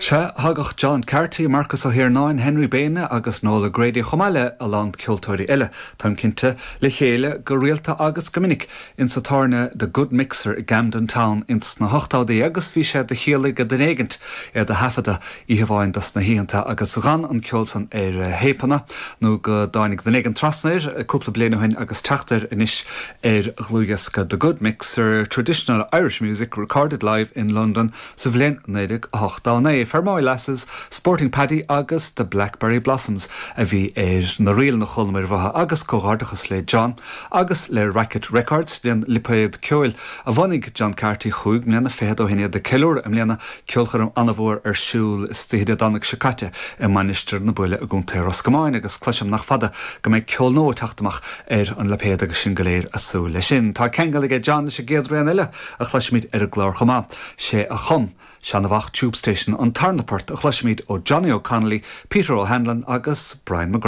Sea, thagadh John Carty, Marcus Ó hIarnáin, Henry Beirne agus Noel O'Grady chomh maith le a lán ceoltóirí eile, táim cinnte, le chéile go rialta agus go minic insa tábhairne The Good Mixer i gCamden Town ins na hochtóidí agus bhí sé de chiall ag duine éigint iad a thaifeadadh oíche amháin dos na hoícheanta agus dh'fhan an ceol san ar théipeanna nó go dtáinig duine éigin trasna air cúpla bliain ó shin agus teacht air anois ar dhlúthdhiosca The Good Mixer, Traditional Irish Music Recorded Live in London sa bhliain 1989. Fermoy Lasses, Sporting Paddy agus The Blackberry Blossoms a bhí ar na ríleanna a chualamar uathu agus comhghairdeachas le John agus le Racket Records, an lipéad ceoil a bhunaigh John Carty chúig mbliana fichead ó shin iad ag ceiliúradh i mbliana Ceolchoirm an-mhór ar siúl istoíche Dé Domhnaigh seo caite i Mainistir na Buaile i gContae Ros Comáin agus cloisim nach fada go mbeidh ceol nua ag teacht amach ar an lipéad agus sinn go léir a' súil leis sin. Tá ceangal aige John leis an gcéad rian eile a chloisfimid ar an gclár chomh maith. Sé a chum Seanamhach Tube Station an tarna port a chloisfimid ó Johnny O'Connolly, Peter O'Hanlon agus Brian McGrath.